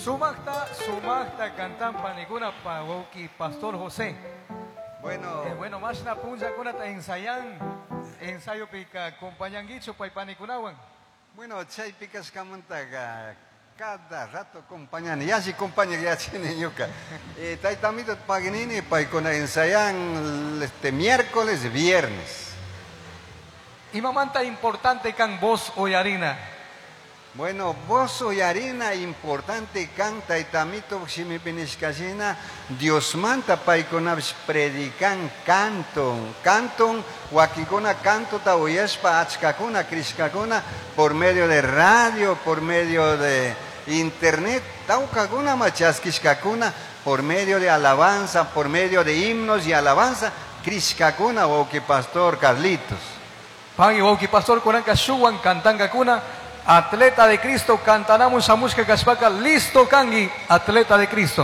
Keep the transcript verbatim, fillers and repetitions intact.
Sumaqta, sumaqta cantan panikuna pa wawki Pastor José. Bueno, Eh, bueno, mashna punllakunata ensayan, ensayopika compañanguichu pay panikunawan. Bueno, chaypi kashkamantaqa cada rato compañani, yalli compaña yachani ñuka. Eh, tayta amito paginini paykuna ensayan este miércoles, viernes. Imamanta importante kan voz uyarina. Bueno, voz uyarina importante kan tayta amito shimipi nishkashina Diosmanta paykunapish predican canton, canton wakinkuna cantota uyashpa achkakuna crishkakuna por medio de radio, por medio de internet, tawkakuna ma chaskishkakuna por medio de alabanza, por medio de himnos y alabanza, crishkakuna wawki pastor Carlitos. Pagui wawki pastor kunanka shuwan kantankakuna atleta de Cristo cantanamun shamushka kashpaka listo kanki atleta de Cristo.